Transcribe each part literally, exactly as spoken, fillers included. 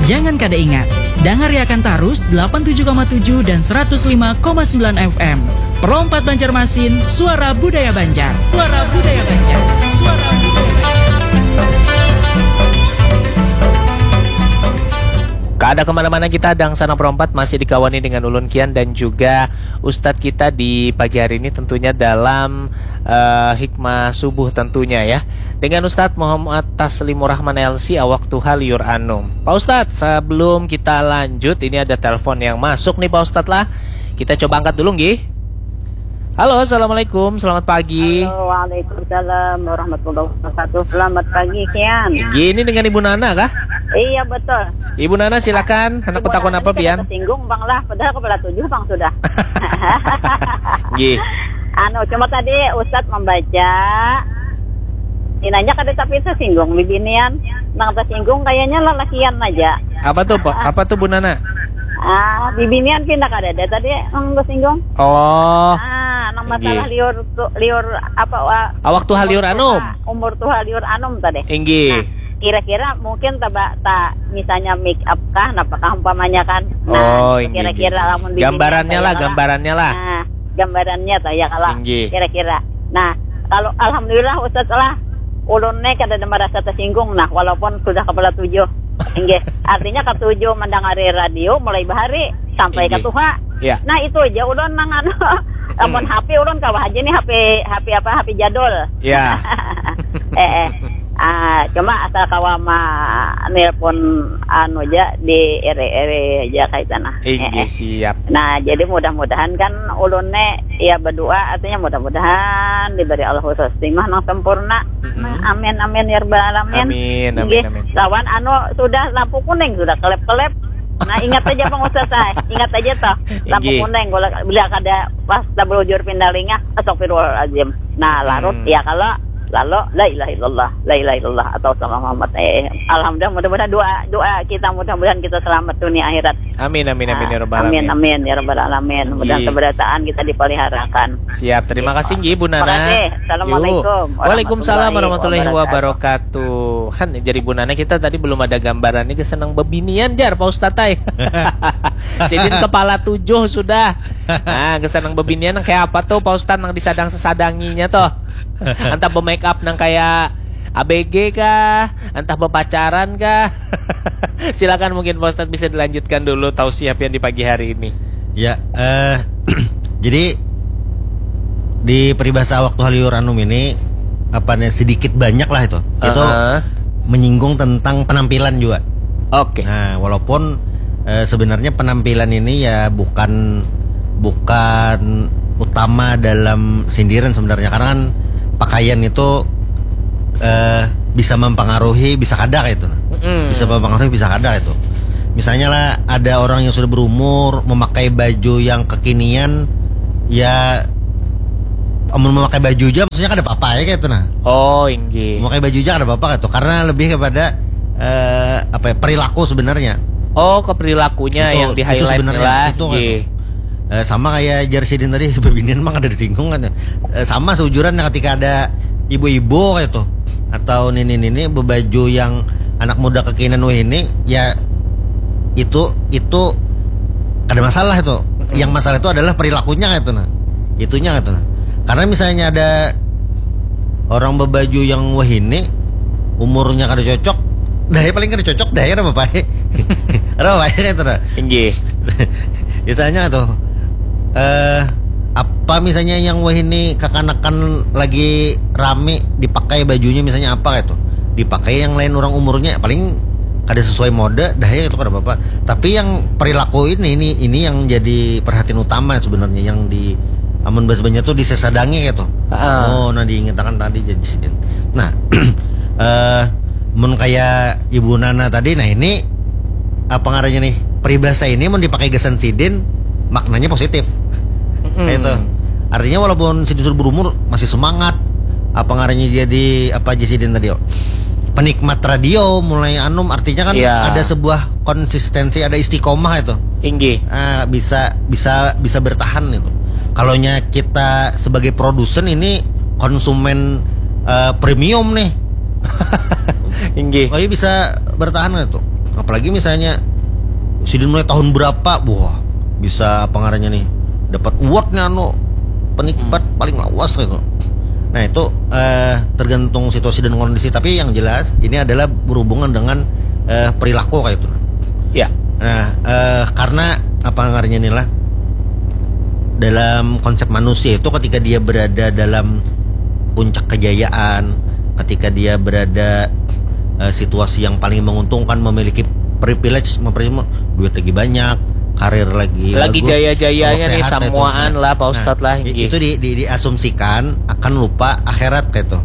Jangan kada ingat, dangariakan tarus delapan tujuh koma tujuh dan seratus lima koma sembilan F M. Pro empat Banjarmasin, suara budaya Banjar. Suara budaya Banjar. Suara budaya Banjar. Kada kemana-mana kita, Dangsanak Pro empat masih dikawani dengan ulun Kian dan juga Ustadz kita di pagi hari ini, tentunya dalam eh, hikmah subuh tentunya ya. Dengan Ustadz Muhammad Taslimur Rahman L C, awak tuha liur anum. Pak Ustadz, sebelum kita lanjut, ini ada telepon yang masuk nih Pak Ustadz lah. Kita coba angkat dulu nggih. Halo, assalamualaikum, selamat pagi. Halo, waalaikumsalam warahmatullahi wabarakatuh. Selamat pagi, Kian. Gini dengan Ibu Nana kah? Iya, betul. Ibu Nana, silakan. Hendak Ibu betakun Nana apa, ini kada Pian? Tersinggung, Bang lah. Padahal kepala tujuh, Bang, sudah. Nggih. Anu, cuma tadi Ustadz membaca, inanya kada tapi tersinggung, bibinian. Nang tersinggung kayaknya lalakian aja. Apa tuh, Pak? Apa tuh, Bu Nana? Ah, bibinian pindah kada ada tadi nang tersinggung. Oh. Ah, nang masalah Nggih. Liur tu, liur apa, wa-, Awak tuha liur anum. Umur tuha liur anum tadi. Inggih. Nah, kira-kira mungkin taba-, ta-, misalnya make up kah, napa kah umpamanya kan. Nah, Oh, inggih, kira-kira inggih. Lamun bibinian Gambarannya lah, kayak gambarannya lah. Nah, gambarannya tuh ya kalau Inggih. Kira-kira. Nah, kalau alhamdulillah Ustaz lah, ulun nih kada ada merasa tersinggung nah, walaupun sudah kepala tujuh. Inggih. Artinya ketujuh mendengari radio mulai bahari sampai Inggih. Ketuha. Ya. Nah, itu aja ulun nang anu. Lamun Hmm. H P ulun kawa aja nih, H P, H P apa, H P jadul. Ya. Eh, eh. Ah, cuma asal kawa ma-, nelpon anu aja di ere-ere aja kayak sana. Inggih, Eh, eh. Siap. Nah, jadi mudah-mudahan kan ulun ne ya berdoa, artinya mudah-mudahan diberi Allah khusus timah nang sempurna. Mm-mm. Nah, amin, amin, ya rabbal alamin. Amin, amin, Inggih. Amin. Lawan anu sudah lampu kuning, sudah kelep-kelep. Nah, ingat aja, Bang Ustaz, ah. Ingat aja toh. Lampu Inggih. Kuning, bila, bila kada pas tabelujur pindalinga, astagfirullahaladzim. Nah, larut, Hmm. Ya kalau lalu la ilaha illallah, la ilaha illallah atau salam Muhammad. Eh, alhamdulillah, mudah-mudahan doa, doa kita, mudah-mudahan kita selamat dunia akhirat. Amin, amin, amin, ya rabbal Amin, alamin. Amin, ya rabbal alamin. Mudah-mudahan Inggih. Keberdataan kita dipeliharakan. Siap, terima kasih, Nggih, Bu Nana. Terima kasih. Assalamualaikum Yu. Waalaikumsalam warahmatullahi wabarakatuh. Wabarakatuh. Han, jadi Bu Nana, kita tadi belum ada gambaran nih, kesenang bebinian jar, Pak Ustadz, ay. Sidin kepala tujuh sudah. Nah, kesenang bebinian yang kayak apa tuh, Pak Ustadz, nang disadang-sesadanginya tuh? Entah be-make up nang kayak A B G kah? Entah bepacaran kah? Silakan, mungkin Pak Ustadz bisa dilanjutkan dulu tausiah pian di pagi hari ini. Ya, eh, jadi di peribahasa awak tuha liur anum ini, apa nih, sedikit banyak lah itu. Itu Aha. Menyinggung tentang penampilan juga. Oke. Nah, walaupun, eh, sebenarnya penampilan ini ya bukan, bukan utama dalam sindiran sebenarnya, karena kan pakaian itu, eh, bisa mempengaruhi, bisa kada kayak itu. Mm-mm. Bisa mempengaruhi, bisa kada itu. Misalnya lah, ada orang yang sudah berumur memakai baju yang kekinian, ya, amun memakai baju aja, maksudnya kada apa-apa ya kayak itu nah. Oh, inggih. Memakai baju aja kada apa-apa kayak itu, karena lebih kepada, eh, apa ya, perilaku sebenarnya. Oh, ke perilakunya Itu, yang itu di-highlight sebenarnya, lah. Itu kayak Nggih. Itu. Eh, sama kayak jar sidin tadi, bebinian mah kada disinggung kan ya. Eh, sama seujuran ketika ada ibu-ibu kayak itu atau nini-nini bebaju yang anak muda kekinian wahini, ya itu, itu kada masalah itu. Mm-mm. Yang masalah itu adalah perilakunya kayak itu nah. Itunya kayak itu nah. Karena misalnya ada orang bebaju yang wahini, umurnya kada cocok, dah ya paling kada cocok, dah ya ada apa-apa. Ada apa-apa kayak itu nah. Inggih. Misalnya tuh, eh, apa misalnya yang wahini kakanakan lagi rame dipakai bajunya, misalnya apa gitu, dipakai yang lain orang umurnya, paling kada sesuai mode, dah ya itu kada apa-apa. Tapi yang perilaku ini, ini, ini yang jadi perhatian utama sebenarnya, yang di amun bahasa Banjar tuh disesadangi gitu. Heeh. Oh, nah diingatkan tadi jadi sidin. Nah, eh, mun kayak Ibu Nana tadi, nah ini apa ngarannya nih, peribahasa ini mun dipakai gasan sidin, maknanya positif. Mm-mm. Kayak itu. Artinya walaupun sidin sudah berumur, masih semangat. Apa ngarannya, jadi apa aja sidin tadi, oh? Penikmat radio mulai anum, artinya kan Iya. Ada sebuah konsistensi, ada istiqomah itu. Inggih. Ah, bisa, bisa, bisa bertahan itu. Kalau nya kita sebagai produsen ini konsumen, eh, premium nih. Inggih. Oh iya, bisa bertahan nggak tuh? Apalagi misalnya sidin mulai tahun berapa, wah, bisa apa ngarannya nih, dapat award nih anu, penikmat paling lawas gitu. Nah, itu eh, tergantung situasi dan kondisi, tapi yang jelas ini adalah berhubungan dengan eh, perilaku kayak itu. Ya. Nah, eh, karena apa ngarannya nih lah, dalam konsep manusia itu, ketika dia berada dalam puncak kejayaan, ketika dia berada eh, situasi yang paling menguntungkan, memiliki privilege, memiliki duit lagi banyak, karir lagi Lagi bagus, jaya-jayanya Allah nih, sehat, samuaan gitu. lah, Pak Ustadz lah, i- nggih. Itu di, di, diasumsikan akan lupa akhirat kayak itu.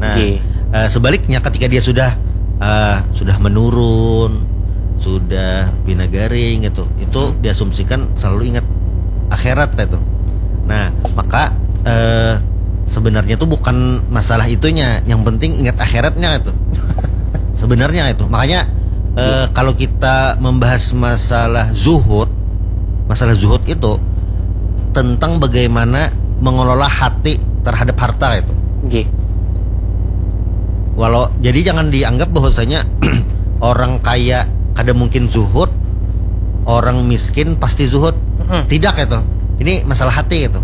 Nah, Nggih. eh, sebaliknya, ketika dia sudah eh, sudah menurun, sudah pina garing gitu, itu Hmm. diasumsikan selalu ingat akhirat kayak itu. Nah, maka eh, sebenarnya tuh bukan masalah itunya, yang penting ingat akhiratnya itu. Sebenarnya itu. Makanya eh, kalau kita membahas masalah zuhud, masalah zuhud itu tentang bagaimana mengelola hati terhadap harta itu. Nggih. Walau, jadi jangan dianggap bahwasanya orang kaya kada mungkin zuhud, orang miskin pasti zuhud. Mm-mm. Tidak itu. Ini masalah hati itu.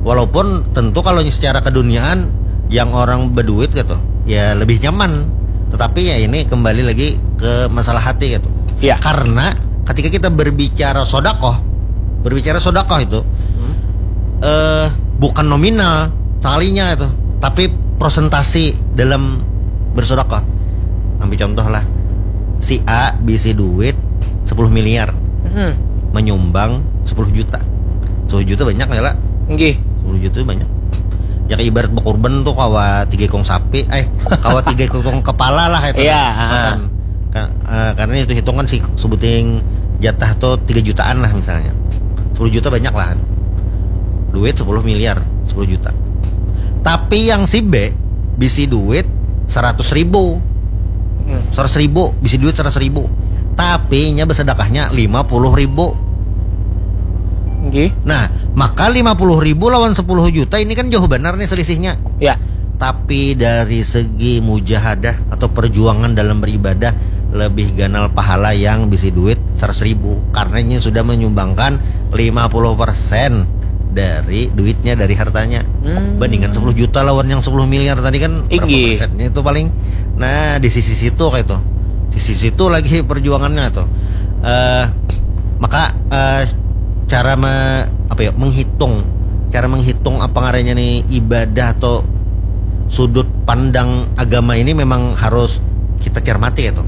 Walaupun tentu kalau secara keduniaan yang orang berduit gitu, ya lebih nyaman. Tetapi ya ini kembali lagi ke masalah hati gitu. Ya. Karena ketika kita berbicara sodakoh, berbicara sodakoh itu Hmm. eh bukan nominal sekalinya itu, tapi persentasi dalam bersodakoh. Ambil contoh lah, si A bisi duit sepuluh miliar, Hmm. menyumbang sepuluh juta. Sepuluh juta banyak ya lah. Nggih. Sepuluh juta banyak. Ya kayak ibarat berkurban tuh, kawa tiga ekong sapi, eh kawa tiga ekong kepala lah itu. Iya, Matan. Ka- eh, karena itu hitungan si sebuting jatah tuh tiga jutaan lah misalnya. Sepuluh juta banyak lah. Duit sepuluh miliar, sepuluh juta. Tapi yang si B bisi duit seratus ribu. Hmm. Seratus ribu, bisi duit seratus ribu. Tapi nya bersedekahnya lima puluh ribu. Nggih. Nah, maka lima puluh ribu lawan sepuluh juta ini kan jauh benar nih selisihnya. Ya. Tapi dari segi mujahadah atau perjuangan dalam beribadah, lebih ganal pahala yang bisi duit seratus ribu, karena ini sudah menyumbangkan lima puluh persen dari duitnya, dari hartanya. Hmm. Bandingkan sepuluh juta lawan yang sepuluh miliar tadi kan berapa Inggih. persennya itu paling. Nah, di sisi situ kayak itu. Sisi situ lagi perjuangannya tuh. Eh maka eh, cara me, apa ya, menghitung, cara menghitung apa ngarannya nih ibadah atau sudut pandang agama ini memang harus kita cermati gitu.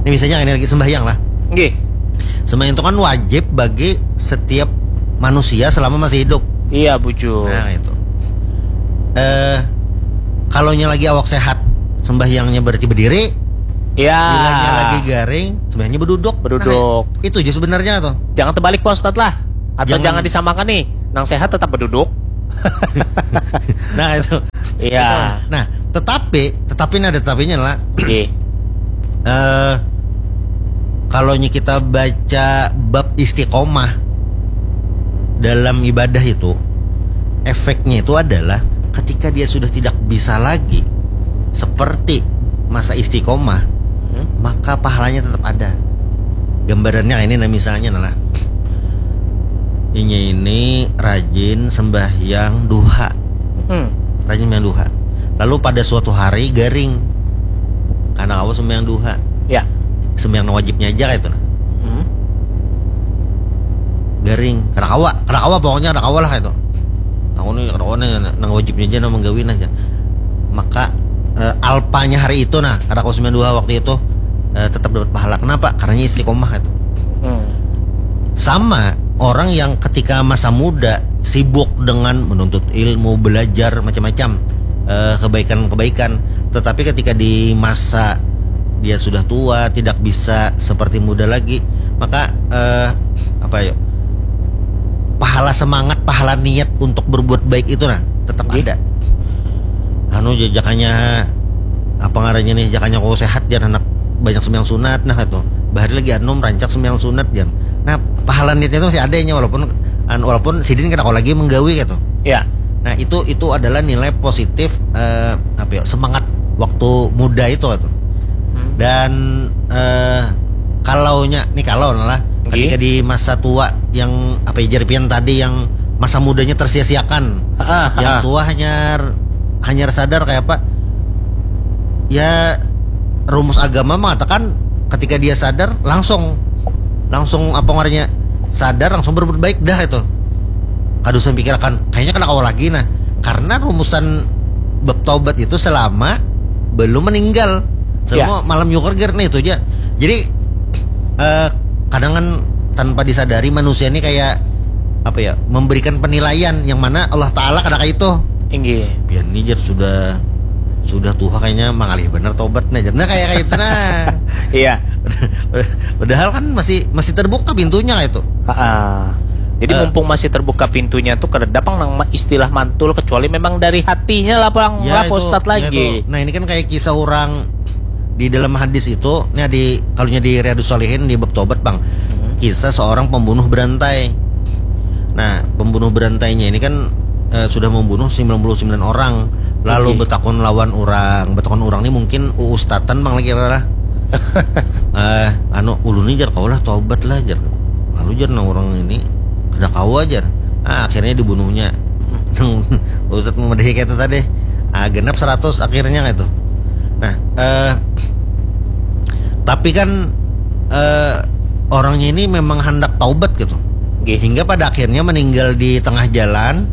Ini misalnya ini lagi sembahyang lah. Nggih. Sembahyang itu kan wajib bagi setiap manusia selama masih hidup. Iya, bujur. Nah, itu. Eh kalau nya lagi awak sehat, sembahyangnya berarti berdiri. Ya. Bilanya lagi garing, sembahyangnya berduduk. Berduduk. Nah, itu aja sebenarnya tuh. Jangan terbalik, Pak Ustadz lah. Atau Jangan- jangan disamakan nih, nang sehat tetap berduduk. Nah, itu. Iya. Nah, tetapi, tetapi ini ada tetapinya lah. Nggih. Eh kalau nya kita baca bab istiqomah dalam ibadah itu, efeknya itu adalah ketika dia sudah tidak bisa lagi seperti masa istiqomah, Hmm. maka pahalanya tetap ada. Gambarannya ini, nah, misalnya, nah, inya ini rajin sembahyang duha, Hmm. rajin sembahyang duha. Lalu pada suatu hari garing, karena kawa sembahyang duha, Ya. sembahyang nang wajibnya aja kayak itu, nah. Hmm. Garing, kada kawa, kada kawa, pokoknya kada kawa lah kayak itu. Aku nih kada kawa nih, nang wajibnya aja, nang menggawi aja. Maka eh, alpanya hari itu, nah, kada kawa sembahyang duha waktu itu, eh, tetap dapat pahala. Kenapa? Karena istiqomah itu. Hmm. Sama orang yang ketika masa muda sibuk dengan menuntut ilmu, belajar macam-macam, eh, kebaikan-kebaikan, tetapi ketika di masa dia sudah tua, tidak bisa seperti muda lagi, maka eh, apa ya, pahala semangat, pahala niat untuk berbuat baik itu, nah, tetap Nggih. Ada. Anu, ja- jakanya apa ngarannya nih, jakanya kau sehat, jan anak banyak sembahyang sunat, nah, itu bahari lagi anu merancak sembahyang sunat, jan. Nah, pahala niatnya itu masih ada nya, walaupun an- walaupun sidin kada kawa lagi menggawi gitu. Ya. Nah, itu itu adalah nilai positif, eh, apa ya, semangat waktu muda itu gitu. Hmm. Dan eh, Kalau nya, nih kalau lah, ketika di masa tua yang apa ya, jar pian tadi, yang masa mudanya tersia-siakan, Ah, yang ah. tua hanyar hanyar sadar kayak apa? Ya, rumus agama mengatakan ketika dia sadar, langsung langsung apa ngarannya, sadar, langsung berbuat baik dah itu. Kada usah pikirakan, kayaknya kada kawa lagi, nah. Karena rumusan bab taubat itu selama belum meninggal, selama Ya. malam nyukur ger, nah itu aja. Jadi eh kadang kan tanpa disadari manusia ini kayak apa ya, memberikan penilaian yang mana Allah Ta'ala kada kayak itu. Inggih. Pian ni jar sudah sudah tua kayaknya, mangalih bener tobat nah jar. Nah, kayak kayak itu nah. Iya. Padahal kan masih masih terbuka pintunya kayak itu. Ha-ah. Jadi Eh. mumpung masih terbuka pintunya tuh, kada pang nang ma- istilah mantul, kecuali memang dari hatinya lah pang Ya, lah itu, Pak Ustadz ya, lagi. itu. Nah, ini kan kayak kisah orang di dalam hadis itu, nih di kalau di Riyadus Shalihin di bab tobat, Bang. Hmm. Kisah seorang pembunuh berantai. Nah, pembunuh berantainya ini kan eh, sudah membunuh sembilan puluh sembilan orang, lalu Oke. betakun lawan orang, betakun orang ini mungkin uustatan, Bang, lagi lah. Eh, anu, ulun ini jar kawa lah tobat lah jar. Lalu jar nang orang ini kada kawa jar. Ah, akhirnya dibunuhnya. Ustadz memadahi kayak itu tadi. Ah, genap seratus akhirnya kayak itu. Nah, eh tapi kan eh orangnya ini memang hendak taubat gitu. Nggih. Hingga pada akhirnya meninggal di tengah jalan.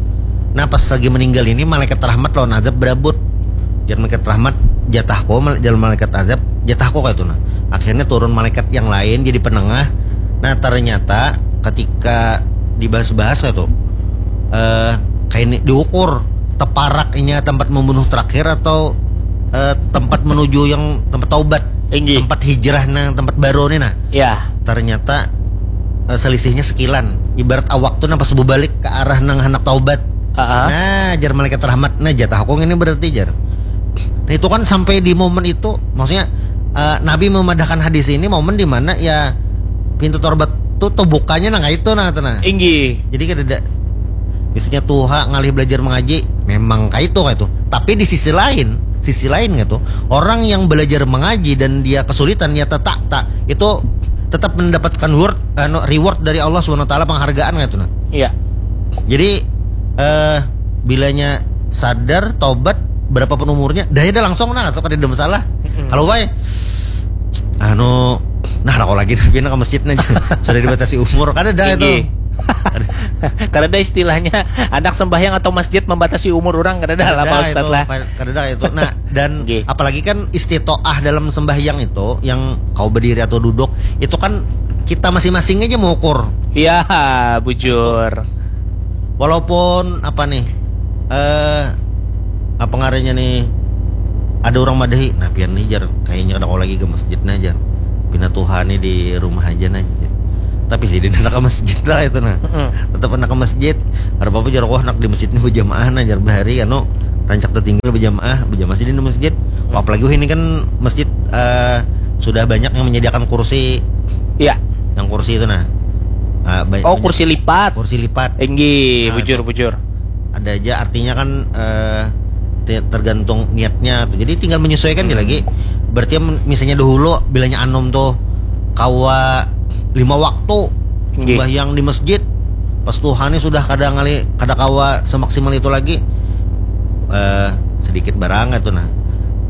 Nah, pas lagi meninggal ini, malaikat rahmat lawan azab berabut. Jar malaikat rahmat, "Jatahku," mal- jar malaikat azab, "Jatahku," kayak itu nah. Akhirnya turun malaikat yang lain jadi penengah. Nah, ternyata ketika dibahas-bahas kayak itu, eh kayak ini diukur teparaknya tempat membunuh terakhir atau eh, tempat menuju yang tempat taubat, Inggih. Tempat hijrah nang tempat baru nih nah. Ya. Ternyata eh, selisihnya sekilan. Ibarat awak tuh nang pas bebalik ke arah nang hendak taubat. Ha-ha. Nah, jar malaikat rahmat, "Nah, jatah aku ini berarti," jar. Nah, itu kan sampai di momen itu, maksudnya eh, Nabi memadahkan hadis ini momen di mana ya pintu tobat tuh terbukanya nang itu nah, tuh nah. Inggih. Jadi kada ada, misalnya tuha ngalih belajar mengaji, memang kayak itu, kayak itu. Tapi di sisi lain, sisi lain gitu, orang yang belajar mengaji dan dia kesulitan, ya tak tak itu tetap mendapatkan word, anu, reward dari Allah Subhanahu Wa Taala, penghargaan kayak itu nah. Iya. Jadi eh bilanya sadar, tobat, berapapun umurnya, dah ada langsung nah, atau kada ada masalah. Mm-mm. Kalau wae anu, nah, rokok lagi tapi nak ke masjid nah, sudah dibatasi umur, kada ada itu. Tinggi. Karena ada istilahnya anak sembahyang atau masjid membatasi umur orang, kada ada lah Pak Kada Ustadz itu, lah. Kada ada itu. Nah, dan Nggih. Apalagi kan istitoah dalam sembahyang itu, yang kau berdiri atau duduk, itu kan kita masing-masing aja mengukur. Iya, bujur. Walaupun apa nih, eh apa ngarannya nih, ada orang madahi, "Nah, pian nih jar, kayaknya kada kau lagi ke masjid nah jar, pina tuha nih di rumah aja nah jar." Tapi jadi anak ke masjid lah itu nah. Mm-mm. Tetap anak ke masjid. Ada apa jar, "Wah, anak di masjid nih berjamaah nah jar, bahari anu rancak tertinggal berjamaah, berjamaah sih di masjid." Apalagi wah ini kan masjid eh sudah banyak yang menyediakan kursi, Iya. yang kursi itu nah. Ah, ba- Oh, banyak- kursi lipat. Kursi lipat. Inggih, Nah, bujur, itu. Bujur. Ada aja artinya kan eh te- tergantung niatnya tuh. Jadi tinggal menyesuaikan dia Hmm. lagi. Berarti em- misalnya dahulu bilanya anum tuh kawa lima waktu Nggih. sembahyang di masjid. Pas tuha nih sudah kada ngali, kada kawa semaksimal itu lagi. Eh sedikit barang itu nah.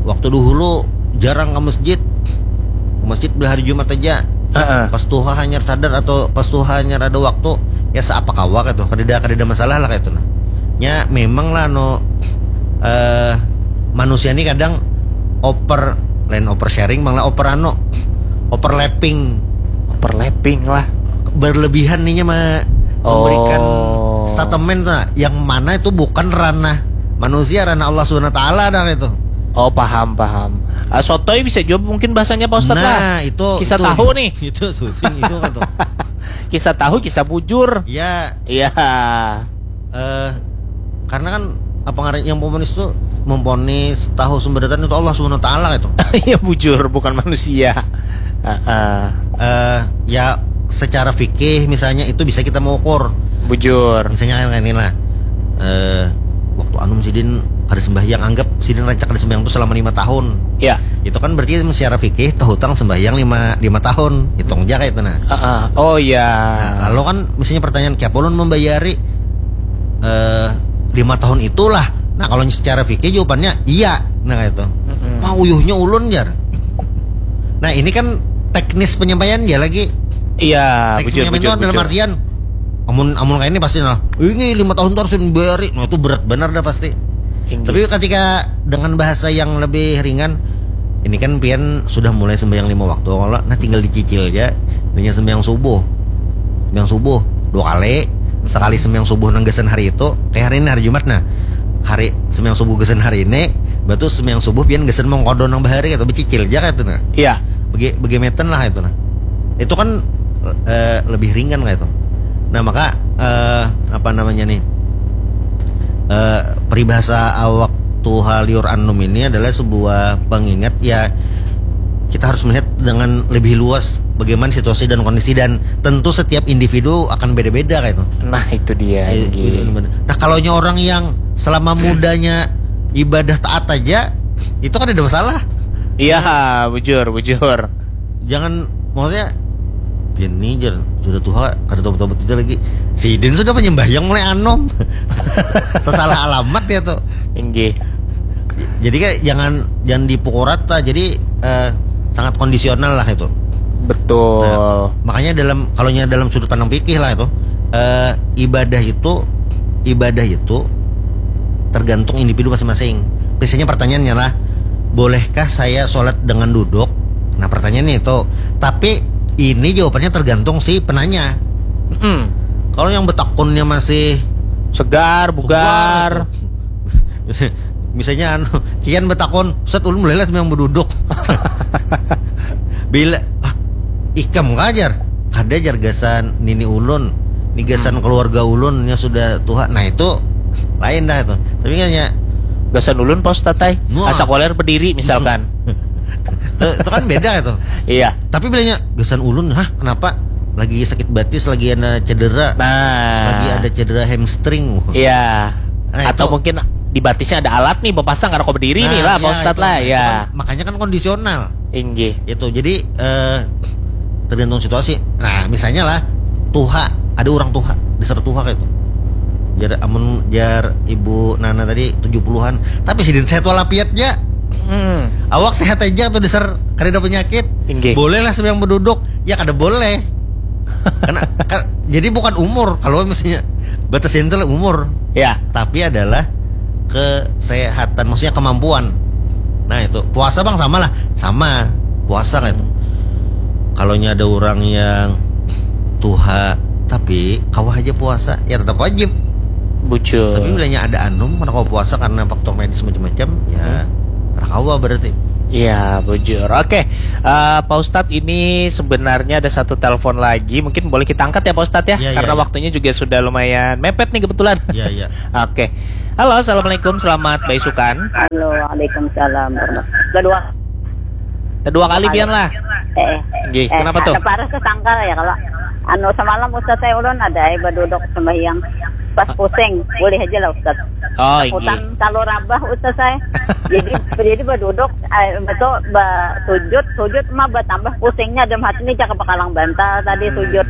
Waktu dahulu jarang ke masjid. Ke masjid bila hari Jumat aja. Heeh. Pas tuha hanyar sadar atau pas tuha hanyar ada waktu, ya seapa kawa kayak tuh. Kada ada, kada ada masalah lah kayak itu nah. Nya memang lah anu eh manusia ini kadang over, lain over sharing, bang lah, over anu, overlapping, Overlapping lah. berlebihan nih nya me- memberikan Oh. Statement tuh nah, yang mana itu bukan ranah manusia, ranah Allah Subhanahu Wa Taala dah itu. Oh, paham, paham. Ah, sotoy bisa juga mungkin bahasanya Pak Ustadz lah. Nah, itu Kisah itu, tahu nih. Itu tuh, sing itu kan tuh. Kisah tahu, kisah bujur. Ya, Iya. eh karena kan apa ngaran yang ponis tuh, memponis tahu sumber datanya itu Allah Subhanahu Wa Taala itu. Iya, bujur, bukan manusia. Heeh. Eh ya, secara fikih misalnya itu bisa kita mengukur. Bujur. Misalnya kan kayak ini lah. Eh waktu anum sidin kada sembahyang, anggap sidin rancak kada sembahyang tu selama lima tahun. Ya. Itu kan berarti secara fikih tahutang sembahyang lima, lima tahun. Hitung aja kayak itu nah. Ah, ah. Oh ya. Nah, kalau kan misalnya pertanyaan, "Kiapa ulun membayari eh lima tahun itulah?" Nah, kalau secara fikih jawabannya iya. Nah, kayak itu. Mm-mm. Mau uyuhnya ulun, jar. Nah, ini kan teknis penyampaian ya lagi. Iya, Teknis bujur, penyampaian bujur, itu dalam bujur. Artian, amun amun kayak ini pasti nah, "Ini lima tahun tuh harus dibayari." Nah, itu berat benar dah pasti. Inggih. Tapi ketika dengan bahasa yang lebih ringan, ini kan pian sudah mulai sembahyang lima waktu, kalau nah tinggal dicicil aja dengan sembahyang subuh. Sembahyang subuh dua kali, sekali sembahyang subuh nang gasan hari itu, kayak hari ini hari Jumat nah. Hari sembahyang subuh gasan hari ini, batu sembahyang subuh pian gasan mengkodon nang bahari atau becicil aja kayak itu nah. Iya. Bagi bagi meten lah itu nah. Itu kan eh, lebih ringan kayak itu. Nah, maka eh, apa namanya nih? Eh, peribahasa awak tuha liur anum ini adalah sebuah pengingat ya, kita harus melihat dengan lebih luas bagaimana situasi dan kondisi, dan tentu setiap individu akan beda-beda kayak itu. Nah, itu dia. Eh, Inggih. bener-bener. Nah, kalau orang yang selama mudanya ibadah taat aja, itu kan ada masalah. Iya, bujur, bujur. Jangan, maksudnya, "Bini, jar, sudah tuha, kada tobat-tobat itu lagi." Sidin sudah penyembahyang mulai anom. Tersalah alamat ya tuh. Inggih. Jadi kayak jangan jangan dipukul rata. Jadi eh, sangat kondisional lah itu. Betul. Nah, makanya dalam, kalau dalam sudut pandang fikih lah itu, eh, ibadah itu ibadah itu tergantung individu masing-masing. Misalnya pertanyaannya lah, "Bolehkah saya sholat dengan duduk?" Nah, pertanyaannya itu. Tapi ini jawabannya tergantung si penanya. Mm-mm. Kalau yang betakunnya masih Segar, bugar. Misalnya anu, kian betakun, "Ustaz, ulun mulai lah sembahyang beduduk." Bila ah, ikam kajar, kada, jar, gasan nini ulun, ni gasan keluarga ulun yang sudah tuha. Nah, itu lain dah itu. Tapi kan ya Gasan ulun, Pak Ustaz, ai. Wah. Asa koler berdiri misalkan. itu, itu kan beda itu. Iya. Tapi bilanya gasan ulun, hah, kenapa? Lagi sakit batis, lagi ada cedera. Nah. Lagi ada cedera hamstring. Iya. Nah, Atau itu- mungkin di batisnya ada alat nih, bapasang, kada kau berdiri Nah, nih lah, ya, Pak Ustadz itu. lah, Nah, ya. Itu kan, makanya kan kondisional. Inggih. Itu jadi eh, tergantung situasi. Nah, misalnya lah, tuha, ada orang tuha, dasar tuha kayak itu. Jar amun jar ibu Nana tadi tujuh puluhan, tapi sidin sehat walafiat aja. Hmm. Awak sehat aja tuh, dasar kada ada penyakit. Inggih. Boleh lah sembahyang beduduk. Ya kada boleh. Karena ka- jadi bukan umur, kalau misalnya batasnya itu lah umur, Ya. tapi adalah kesehatan, maksudnya kemampuan. Nah, itu puasa, bang, sama lah, sama puasa kan itu. Kalau ada orang yang tuha tapi kawa aja puasa, ya tetap wajib. Bujur. Tapi bilanya ada anum, mana kawa puasa karena faktor medis macam-macam, ya Hmm. kada kawa berarti. Iya, bujur. Oke, eh, Pak Ustadz, ini sebenarnya ada satu telepon lagi. Mungkin boleh kita angkat ya, Pak Ustadz, ya? Iya, iya, Karena iya. Waktunya juga sudah lumayan mepet nih kebetulan. Iya, iya. Oke. Halo, assalamualaikum. Selamat baisukan. Halo, waalaikumsalam warahmatullahi. Kedua, Kedua kali pian lah. eh, Nggih, eh, kenapa tuh? Ada paras kesangkal ya kalau anu semalam Ustaz saya ulun ada eh, beduduk sembahyang pas pusing, boleh aja lah Ustaz. Oh, Hutan inggih. Kalau rabah Ustaz saya. Jadi jadi beduduk, eh, betul ba, sujud, sujud mah bertambah pusingnya, dem hati ini cakap bakalang bantal tadi Hmm. Sujud.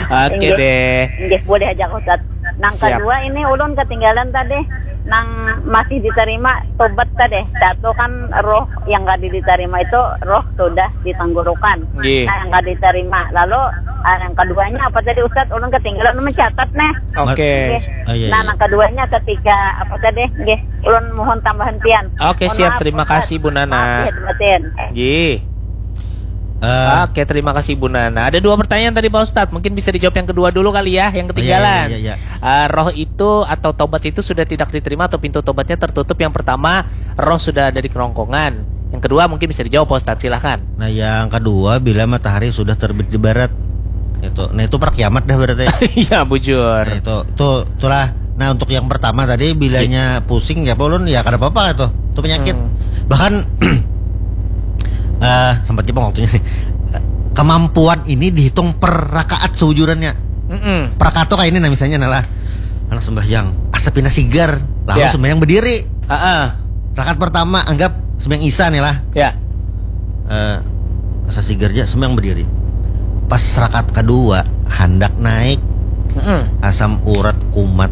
Oke Inggih. Deh. Inggih, boleh aja Ustaz. Nang Siap. Kedua ini ulun ketinggalan tadi nang masih diterima tobat tadi. Satu kan roh yang gak diterima itu roh sudah di tenggorokan. Nggih. Nah, yang gak diterima. Lalu ah, yang keduanya apa tadi Ustaz? Ulun ketinggalan, ulun mencatat nih. Oke. Nggih. Oh, iya, Nah, iya. Nang keduanya ketika apa tadi? Nggih, ulun mohon tambahan pian. Oke, Mohon siap. Maaf, Terima Ustaz. Kasih, Bu Nana. Maaf, lahir batin. Nggih. Eh, Oke, terima kasih Bu Nana. Ada dua pertanyaan tadi Pak Ustadz. Mungkin bisa dijawab yang kedua dulu kali ya, yang ketinggalan. Iya, iya, iya, iya. Eh, roh itu atau tobat itu sudah tidak diterima atau pintu tobatnya tertutup. Yang pertama, roh sudah ada di kerongkongan. Yang kedua mungkin bisa dijawab Pak Ustadz, silahkan. Nah, yang kedua, bila matahari sudah terbit di barat. Itu. Nah, itu per kiamat dah berarti. Iya, bujur. Nah, itu, itu, itulah. Nah, untuk yang pertama tadi, bilanya pusing ya, ulun, ya kada apa-apa itu. Itu penyakit. Hmm. Bahkan eh sempat jepang waktunya nih. Kemampuan ini dihitung per rakaat seujurannya. Mm-mm. Per rakaat tuh kayak ini nah, misalnya nah lah. Anak sembahyang, asa pina sigar. Lalu ya. Sembahyang berdiri. Heeh. Rakaat pertama, anggap sembahyang Isya nih lah. Ya. Eh, asa sigar ja, sembahyang berdiri. Pas rakaat kedua, handak naik. Mm-mm. Asam urat kumat.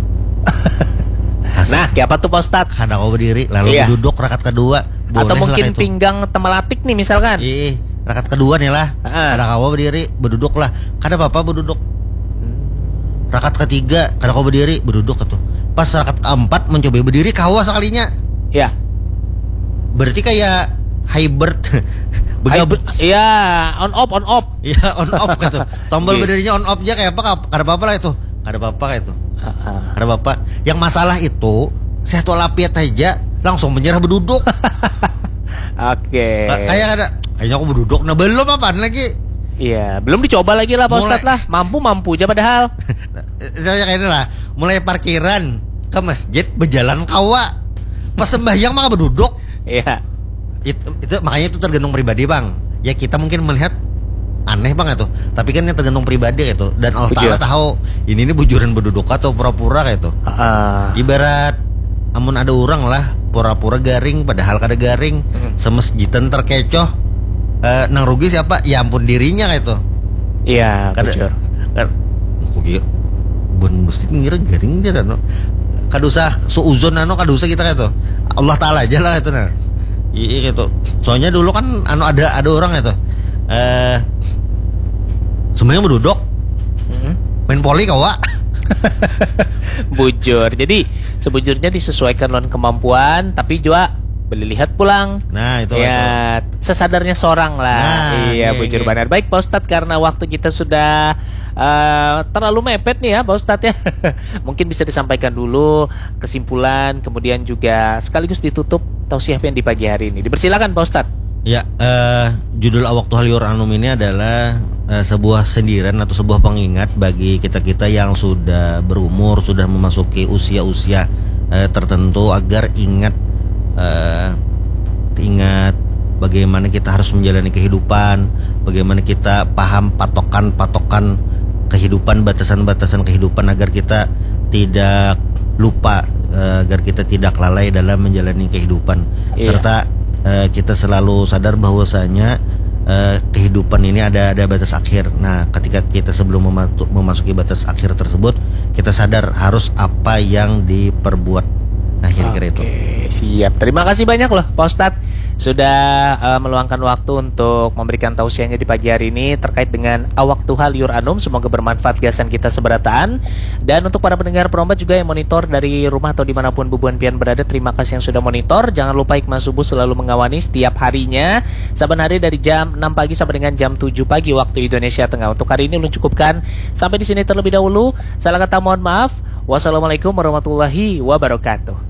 Asam. Nah, kayak apa tuh, Pak Ustadz? Kada kawa berdiri, lalu iya. Duduk rakaat kedua. Atau boleh mungkin itu. Pinggang temalatik nih misalkan. Iya, rakaat kedua nih lah. Heeh. Kada kawa berdiri, beduduk lah. Kada apa-apa beduduk. Hmm. Rakaat ketiga, kada kawa berdiri, beduduk itu. Pas rakaat keempat, mencoba berdiri, kawa sekalinya. Ya. Berarti kayak hybrid. Begab- hybrid, ya, on off, on off. Ya, on off gitu. Tombol berdirinya on off aja kayak apa, kada apa-apa lah itu. Kada apa-apa kayak itu. Heeh. Kada apa-apa. Yang masalah itu, sehat walafiat aja, langsung menyerah beduduk. Oke. Ka-, kayak ada, kayaknya aku beduduk. Nah, belum apaan lagi? Iya, belum dicoba lagi lah, Pak Ustadz lah. Mampu-mampu aja padahal. Saya kayak ini lah, mulai parkiran ke masjid, berjalan kawa. Pas sembahyang maka beduduk. Iya. Itu, itu, makanya itu tergantung pribadi, Bang. Ya, kita mungkin melihat aneh, Bang, itu. Tapi kan ini tergantung pribadi gitu. Dan Allah Ta'ala tahu ini, ini bujuran beduduk atau pura-pura gitu. Heeh. Ibarat amun ada orang lah pura-pura garing padahal kada garing, hmm. Semasjidan terkecoh, eh, nang rugi siapa? Ya ampun dirinya gitu. Iya, kada, bujur. Kada, aku kira, bun mesti ngira garing dia, anu. Kada usah suuzon, anu, kada usah kita gitu. Allah Ta'ala aja lah itu, nah. Iya gitu. Soalnya dulu kan, anu, ada, ada orang itu. Eh, sembahyang beduduk. Mm-mm. Main poli kawa. Bujur. Jadi, sebujurnya disesuaikan lawan kemampuan, tapi juga boleh lihat pulang. Nah, itu, ya, itu. Sesadarnya seorang lah. Nah, iya, iya, bujur iya. Banar. Baik, Pak Ustadz, karena waktu kita sudah, eh, terlalu mepet nih ya, Pak Ustadz ya. Mungkin bisa disampaikan dulu kesimpulan, kemudian juga sekaligus ditutup tausiah pian di pagi hari ini. Dipersilakan, Pak Ustadz. Ya, eh, judul Awaktu Hal Yur'anum ini adalah, eh, sebuah sindiran atau sebuah pengingat bagi kita-kita yang sudah berumur, sudah memasuki usia-usia, eh, tertentu agar ingat, eh, ingat bagaimana kita harus menjalani kehidupan, bagaimana kita paham patokan-patokan kehidupan, batasan-batasan kehidupan agar kita tidak lupa, eh, agar kita tidak lalai dalam menjalani kehidupan. Iya. Serta, eh, kita selalu sadar bahwasanya, eh, kehidupan ini ada, ada batas akhir. Nah, ketika kita sebelum mematu-, memasuki batas akhir tersebut, kita sadar harus apa yang diperbuat. Nah, kira-kira itu. Oke, siap. Terima kasih banyak loh, Pak Ustadz, sudah, eh, meluangkan waktu untuk memberikan tausiahnya di pagi hari ini terkait dengan Awaktu Hal Yur'anum. Semoga bermanfaat gasan kita seberataan. Dan untuk para pendengar Perombat juga yang monitor dari rumah atau dimanapun bubuhan pian berada, terima kasih yang sudah monitor. Jangan lupa Hikmah Subuh selalu mengawani setiap harinya, saban hari dari jam enam pagi sampai dengan jam tujuh pagi waktu Indonesia Tengah. Untuk hari ini ulun cukupkan sampai di sini terlebih dahulu. Salah kata mohon maaf. Wassalamualaikum warahmatullahi wabarakatuh.